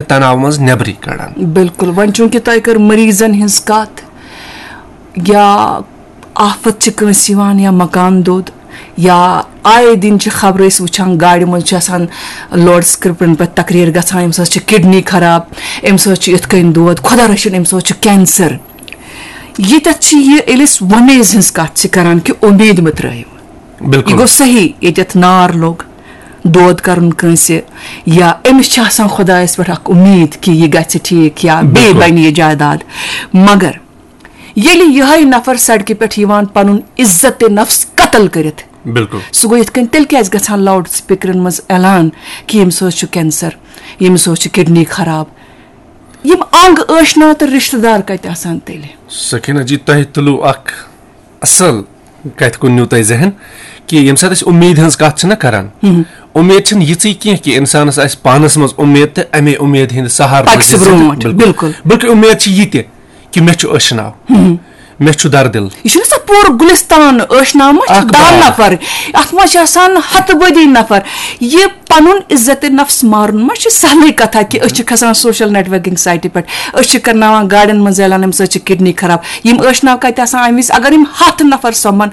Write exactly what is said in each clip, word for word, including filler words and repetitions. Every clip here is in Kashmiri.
تناو منٛز نیبرٕے کڑان۔ بِلکُل، وۄنۍ چوٗنٛکہِ تۄہہِ کٔر مٔریٖضن ہٕنٛز کَتھ، یا آفت چھِ کٲنٛسہِ یِوان، یا مکان دوٚد، یا آیے دِن چھِ خبرٕ أسۍ وٕچھان، گاڑِ منٛز چھِ آسان لاوڈ سپیکرن پٮ۪ٹھ تقریر گژھان، أمِس حظ چھِ کڈنی خراب، أمِس حظ چھِ یِتھ کٔنۍ دود، خۄدا رٔچھِن، أمِس حظ چھُ کینسر۔ ییٚتٮ۪تھ چھِ یہِ، ییٚلہِ أسۍ وۄمیز ہٕنٛز کَتھ چھِ کران کہِ اُمید مہ ترٲیِو۔ یہِ بِلکُل۔ گوٚو صحیح، ییٚتٮ۪تھ نار لوٚگ، دود کرُن کٲنٛسہِ، یا أمِس چھِ آسان خۄدایَس پٮ۪ٹھ اکھ اُمید کہِ یہِ گژھِ ٹھیٖک یا بیٚیہِ بِلکُل۔ بَنہِ یہِ جائیداد۔ مگر ییٚلہِ یِہوٚے نفر سڑکہِ پٮ۪ٹھ یِوان پنُن عزت نفس قتل کٔرِتھ، بِلکُل۔ سُہ گوٚو یِتھ کٔنۍ، تیٚلہِ کیٛازِ گژھان لاوڈ سپیکرن منٛز اعلان کہِ ییٚمِس حظ چھُ کینسر، ییٚمِس حظ چھُ کڈنی خراب؟ یِم انگ ٲشنا تہٕ رشتہٕ دار کتہِ آسان تیٚلہِ؟ سکینہ جی، تۄہہِ تُلوٗ اکھ اصل کتھِ کُن نیوٗ تۄہہِ ذہن کہِ ییٚمہِ ساتہٕ أسۍ اُمید ہٕنٛز کتھ چھِنہ کران، اُمید چھِنہٕ یِژٕے کینٛہہ کہِ انسانس آسہِ پانس منٛز اُمید تہٕ امے اُمید ہٕنٛدِ سہارٕ پکہِ روزِ سُہ زندٕ۔ برونٛٹھ، بِلکُل۔ بِلکُل۔ بلکہِ اُمید چھِ یہِ تہِ کہِ مےٚ چھُ ٲشناو، مےٚ چھُ دردِل۔ یہِ چھُنہٕ سۄ پوٗرٕ گُلستان ٲشناو ما چھِ اکھ دَہ باغ۔ نفر، اتھ منٛز چھِ آسان ہتہٕ بٔدی نفر۔ یہِ پنُن عزت نفس مارُن ما چھُ سہلٕے کتھا کہِ أسۍ چھِ کھسان سوشل نیٹ ورکنگ سایٹہِ پٮ۪ٹھ، أسۍ چھِ کرناوان گاڑٮ۪ن منٛز اعلان، أمِس حظ چھِ کڈنی خراب۔ یِم ٲشناو کتہِ آسان آمٕتۍ؟ اگر یِم ہتھ نفر سۄمن،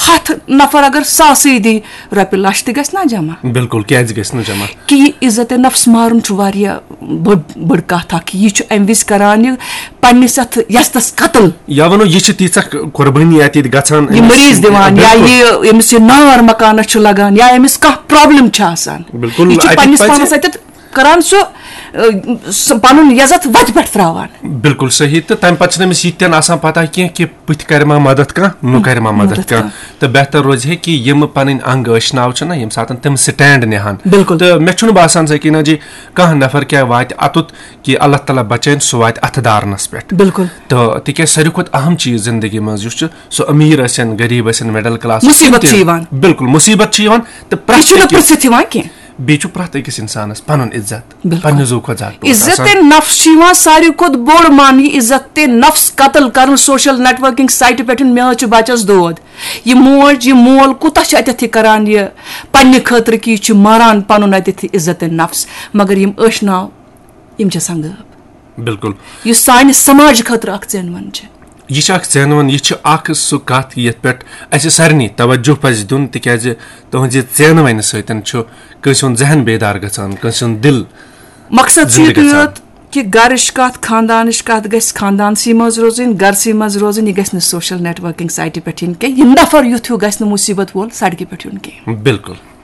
ہتھ نفر اگر ساسٕے دی، رۄپیہِ لچھ تہِ گژھِ نا جمع؟ بِلکُل، کیازِ گژھِ نہٕ جمع؟ کہِ یہِ عزت نفس مارُن چھُ واریاہ بٔڑ، بٔڑ کتھ اکھ۔ یہِ چھُ امہِ وِزِ کران یہِ پننِس اتھ یزتس قتل۔ یا ونو، یہِ چھِ تیٖژاہ قۄربٲنی اتہِ ییٚتہِ گژھان، یہِ أمِس مریض دِوان، یا بِلکُل۔ یہِ أمِس یہِ نار مکانس چھُ لگان، یا أمِس کانٛہہ پرابلم چھِ آسان، بِلکُل، یہِ چھُ اَتہِ پننِس پزِ پانس اتٮ۪تھ کران سُہ، ٲ، سُہ پنُن یزت وتہِ پٮ۪ٹھ تراوان۔ بِلکُل صحیح۔ تہٕ تمہِ پتہٕ چھُنہٕ أمِس یہِ تہِ نہٕ آسان پتہ کینٛہہ کہِ پٔتھۍ کرِ ما مدد کانٛہہ، نُہ کرِ ما مدد مدد کانٛہہ۔ کانٛہہ۔ تہٕ بہتر روزِ ہے کہِ یِم پنٕنۍ انگ ٲشناو چھِنہ، ییٚمہِ ساتہٕ تِم سٹینڈ نِہن۔ بِلکُل۔ تہٕ مےٚ چھُنہٕ باسان، سکینہ جی، کانٛہہ نفر کیٛاہ واتہِ اوٚتُتھ کہِ اللہ تعالیٰ بچٲیِن، سُہ واتہِ اتھٕ دارنس پٮ۪ٹھ۔ بِلکُل۔ تہٕ تِکیٛازِ ساروی کھۄتہٕ اہم چیٖز زندگی منٛز یُس چھُ، سُہ أمیٖر ٲسِن، غریٖب ٲسِن، مڈل کلاس ٲسِن، مُصیٖبت تِم چھِ تہِ۔ یِوان۔ بِلکُل، مُصیٖبت چھِ یِوان۔ تہٕ یہِ پرٛٮ۪تھ چھُنہٕ أکِس پرٛژھِتھ یِوان کینٛہہ۔ بیٚیہِ چھُ پرٛٮ۪تھ أکِس انسانس پنُن عزت، بِلکُل۔ پننہِ زُو کھۄتہٕ زیادٕ ٹوٹھ عزت آسان۔ نفس چھُ یِوان ساروی کھۄتہٕ بوٚڑ ماننہٕ۔ عزت نفس قتل کرُن سوشل نیٹ ورکنگ سایٹہِ پٮ۪ٹھ، مےٚ حظ چھُ بچس دود۔ یہِ موج، یہِ مول کوٗتاہ چھُ اتٮ۪تھ یہِ کران، یہِ پننہِ خٲطرٕ کہِ یہِ چھُ ماران پنُن اتٮ۪تھ یہِ عزت نفس۔ مگر یِم ٲشناو، یِم چھِ آسان غٲب۔ بِلکُل۔ یُس سانہِ سماجہِ خٲطرٕ اکھ ژینوُن چھِ۔ یہِ چھِ اکھ ژینوُن، یہِ چھِ اکھ سُہ کتھ یتھ پٮ۪ٹھ اسہِ سارنٕے توجہ پزِ دیُن، تِکیازِ تُہنٛزِ ژینوٕنہِ سۭتۍ چھُ کٲنٛسہِ ہُنٛد ذہن بیدار گژھان، کٲنٛسہِ ہُنٛد دِل مقصد چھُ زِندٕ یُتُے گژھان۔ یوت کہِ گرٕچ کتھ، خاندانٕچ کتھ گژھِ خاندانسٕے منٛز روزٕنۍ، گرسٕے منٛز روزٕنۍ، یہِ گژھِ نہٕ سوشل نیٹ ورکنگ سایٹہِ پٮ۪ٹھ یِنۍ کینٛہہ۔ یہِ نفر یُتھ ہیوٗ گژھِ نہٕ مُصیبت وول سڑکہِ پٮ۪ٹھ یُن کینٛہہ۔ بِلکُل۔